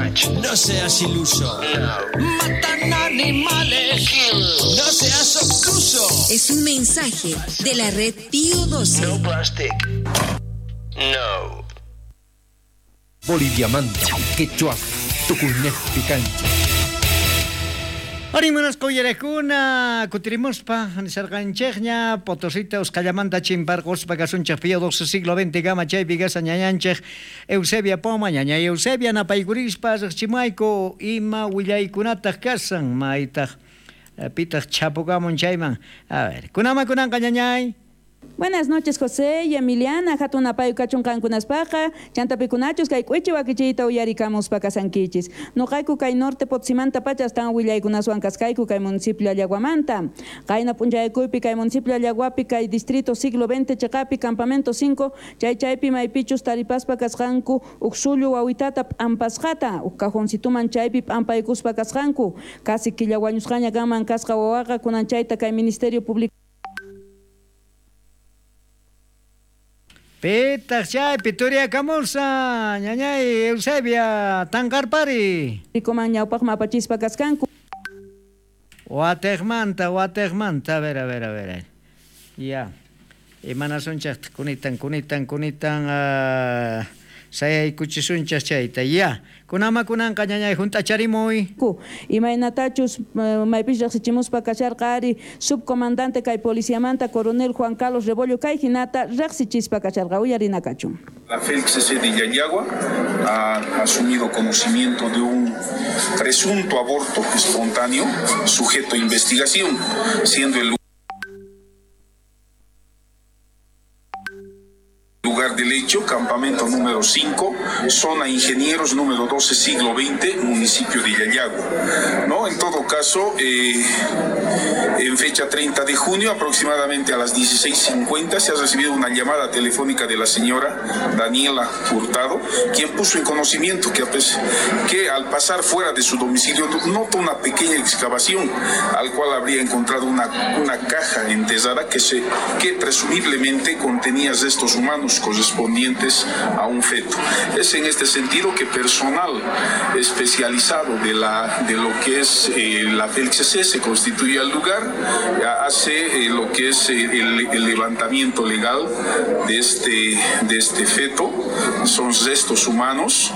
Touch. No seas iluso. Matan animales. No seas obtuso. Es un mensaje de la red Pío 12. No plastic. No. Boliviamanta, Quechua, Tucunejpi cancha. Arimanas qoyarakuna kutirimuspa nisarqanchikña Potosita Usqallamanta chimparquspa kasunchik Pío 12 siglo XX kama chaypi kasa ñañanchik Eusebia Poma ñaña Eusebia napaykurispa riqchimayku ima willaykunataq kasan maytaq pitaq chapukamun chayman. A ver, kunama kunanqa ñañay. Buenas noches, José y Emiliana. Hatun apayu kachun qankunaspaqa, chantapikunachus kay k'uichi wakichiyta uyarikamuspa kasankichis. Nuqayku kay norte Potosímanta pacha astawan willaykunaswan kasqayku kay municipio Allaguamanta. Qayna p'unchaykuypi kay municipio Allaguapi kay distrito siglo XX chiqapi campamento 5 chay chaypi maypichus taripaspa kasqanku uq sullu wawitata p'ampasqata uq cajoncituman chaypi p'ampaykuspa kasqanku. Casi killa wañusqaña kanman kasqa wawaqa kunan chayta kay Ministerio Público. Pitaq chaypi turiakamusa ñañay Eusebia tanqarpari. Rikuman ñawpaqman apachispa kasqanku. Wateqmanta, a ver, a ver, a ver. Ya. Imanasunchaq kunitan sayaykuchisunchaq chayta. Ya. Kunama kunanqa ñañay junt'acharimuy. Imaynatachus maypis riqsichimuspa kasharqa ari subcomandante kay policiamanta coronel Juan Carlos Rebollo kay hinata riqsichispa kasharqa uyarinakachun. La FELCC de Llallagua ha asumido conocimiento de un presunto aborto espontáneo sujeto a investigación, siendo el lugar del hecho, campamento número 5, zona Ingenieros número 12, siglo XX, municipio de Llallagua. ¿No? En todo caso, en fecha 30 de junio, aproximadamente a las 16:50, se ha recibido una llamada telefónica de la señora Daniela Hurtado, quien puso en conocimiento que al pasar fuera de su domicilio notó una pequeña excavación, al cual habría encontrado una caja enterrada que presumiblemente contenía restos humanos correspondientes a un feto. Es en este sentido que personal especializado de lo que es la FELCC se constituye al lugar, hace lo que es el levantamiento legal de este feto, son restos humanos,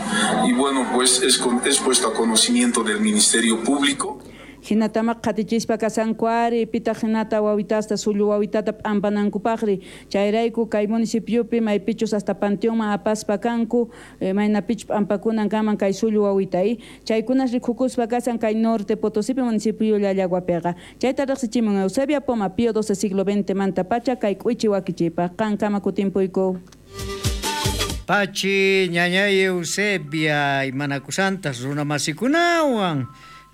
y bueno, pues es puesto a conocimiento del Ministerio Público. Hinatamaq qatichispa kasanku ari pitaq hinata wawitasta sullu wawitata p'ampanankupaqri chayrayku kay municipiopi maypichus hasta panteonman apaspa kanku maynapichus p'ampakunan kanman kay sullu wawita chaykunas rikukuspa kasan kay norte Potosípi municipio Llallaguapiqa chayta riqsichimun Eusebia Poma Pío 12 siglo XX manta pacha kay k'uichi wakichipaq qankama kutimpuyku. Pachi ñañay Eusebia imanakusantas runamasikunawan.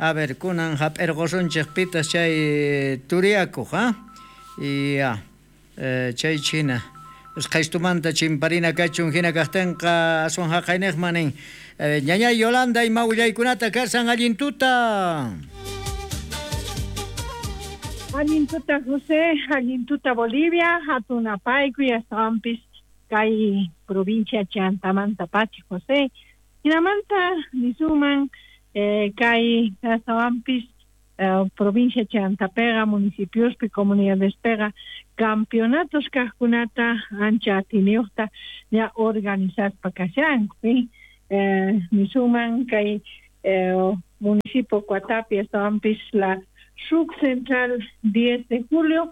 A ver, kunan hap'irqusunchik pitas chay turiakuq, ha? Ya, chay china. Usqhaystumanta chimparina kachun hina kaqtinqa aswan haqayniqman nin. Ñañay Yolanda ima willaykunata kasan allin tuta. Allin tuta José, allin tuta Bolivia, hatun apaykuy astawanpis kay provincia Chantamanta pacha José. Hinamanta nisuman kay astawanpis provincia Chantapega, municipiospi, comunidadespega, campeonatos kaqkunata ancha atiniyuqta ya organizaspa kashanku. Nisuman kay municipio Coatapi astawanpis la subcentral 10 de julio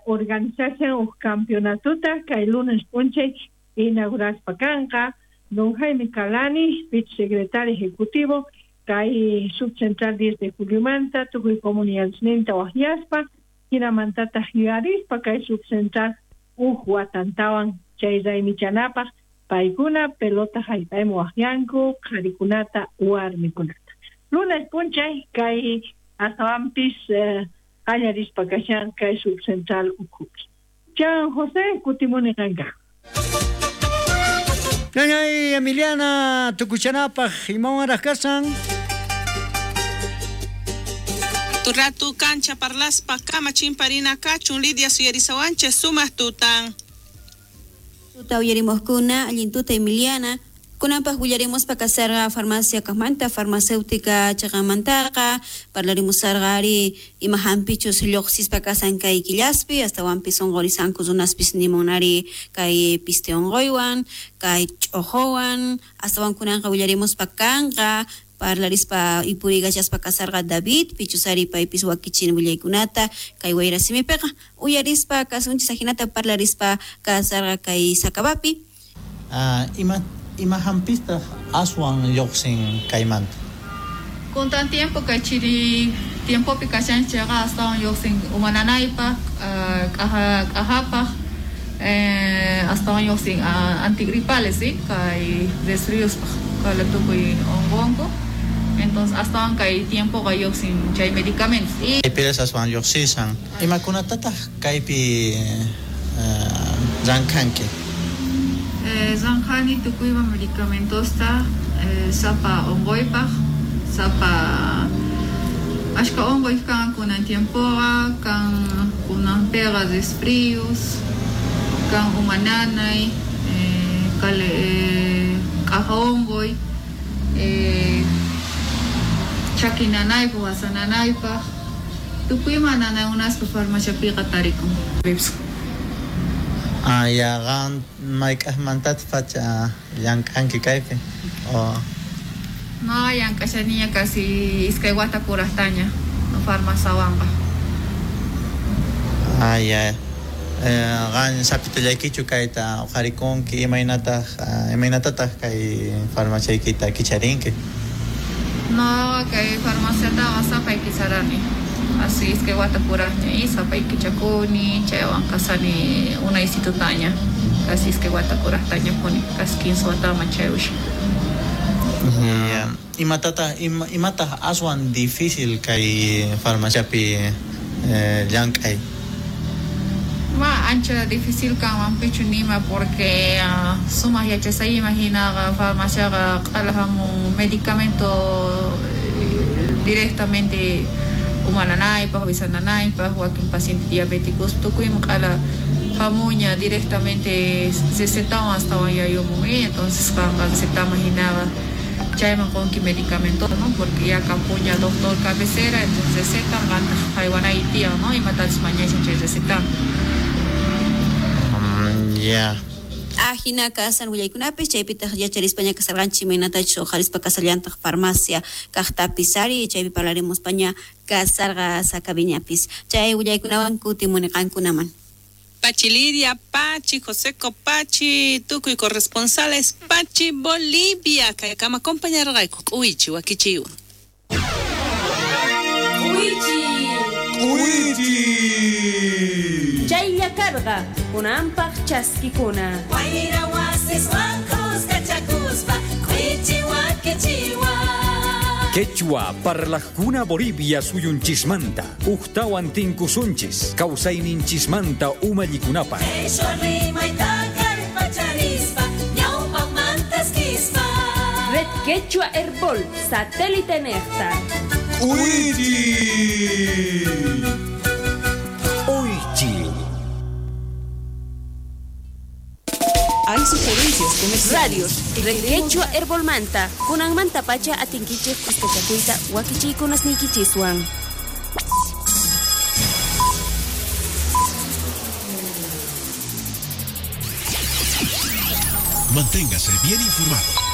organizashan uj campeonatuta kay lunes p'unchay inauguraspa kanqa don Jaime Calani, vicesecretario ejecutivo kay subcentral 10 de juliomanta tukuy comunidadesninta waqyaspa hinamantataq yuyarispa kay subcentral uj watantawan chay raymichanapaq paykuna pelota haypayman waqyanku qharikunata warmikunata. Lunes p'unchay kay astawanpis qallarispa kashan kay subcentral ukhupi. Chan José kutimuni qanka. Ñañay Emiliana tukuchanapaq imawanraq kasan. Turratu cancha parlaspa kama chimparina kachun Lidia suyarisawanche sumaq tutan. Tuta uyarimoskuna allin tuta Emiliana. Kunanpaq willarimuspa kasarqa farmacia kaqmanta, farmacéutica chaqanmantaqa, parlarimusarqa ari ima hampichus lluqsispa kasan kay killaspi, astawanpis unqurisanku runaspis nimunari kay piste unquywan, kay ch'uquwan, astawan kunanqa willarimuspa kanqa parlarispa ipurigachaspa kasarqa David pichusari paypis wakichin willaykunata kay wayrasimipiqa uyarispa kasunchis ajinata parlarispa kasarqa kay Sakabapi. Ima hampistaq aswan lluqsin kaymanta? Kuntan tiempo kay chiri tiempopi kashanchikqa astawan lluqsin umananaypaq, k'ajapaq, astawan lluqsin antigripales, ¿sí? Kay resfriuspaq, kay tukuy unqunku. Entonces astawan kay tiempoqa lluqsin chay medicamentos. Y Kaypiras aswan lluqsisan. Imakunatataq kaypi llank'anki? Zanjani tukuyma medicamentosta sapa unquypaq, sapa ashka unquy kan kunan tiempoqa, kan kunanpiqa resfrios, kan umananay, k'aja unquy, chaki nanaypaq, wasa nanaypaq, tukuyma nanaykunaspa farmaciapiqa tarikun. Ya, qan mayk'aqmantataq pacha llank'anki kaypi? No, llank'ashaniña casi iskay wata kuraqtaña farmaciawanqa. Ya. Qan sapitallaykichu kayta uqharikunki, imaynatataq kay farmaciaykita kicharinki? No, kay farmaciataqa sapay kicharani. Así iskay wata kuraqña y sapay kichakuni, chaywan kasani unaysitutaña. Casi iskay wata kuraqtaña puni, casi 15 wataman chayusha. Imataq aswan difícil kay farmaciapi llank'ay? Ma ancha difícil kanman pichu nima porque sumaq yachasayman hinaqa farmaciaqa q'alajamun medicamento directamente umananaypaq, wisananaypaq, wakin paciente diabéticos tukuyman q'ala hamuña directamente recetawan astawan yayumun, entonces qanqa recetaman hinaqa chayman qunki medicamento, ¿no? Porque ya kampuña doctor cabecera, entonces recetan qantaq haywanay tiyan, ¿no? Imatachus mañashan chay recetan. Ya. Ajina kasan willaykunapis chaypitaq yacharispaña kasarqanchik imaynatachus uqharispa kasallantaq farmacia kaqtapis ari chaypi parlarimuspaña kasarqa Sakabiñapis chay willaykunawan kutimuni qankunaman. Pachi Lidia, Pachi, José Copachi, tukuy corresponsales, Pachi Bolivia, kaykama compañarqayku k'uwichi wakichiwan. K'uwichi. K'uwichi. Chaylla karqa kunanpaq chaskikuna. Wayra wasiswan kuskachakuspa k'uwichi wakichiwan. Quechua parlajkuna Bolivia suyunchismanta, ujtawan tinkusunchis, kawsayninchismanta umallikunapaq. Quechua rimayta kallpacharispa, ñawpaqmantaskispa. Red Quechua Herbol, satélite nejta. ¡Uichi! Uichi. Hay sugerencias comerciales. Radios, Red Quechua Herbolmanta, kunanmanta pacha atinkichik kuskachakuyta wakichiykunasniykichiswan. Manténgase bien informado.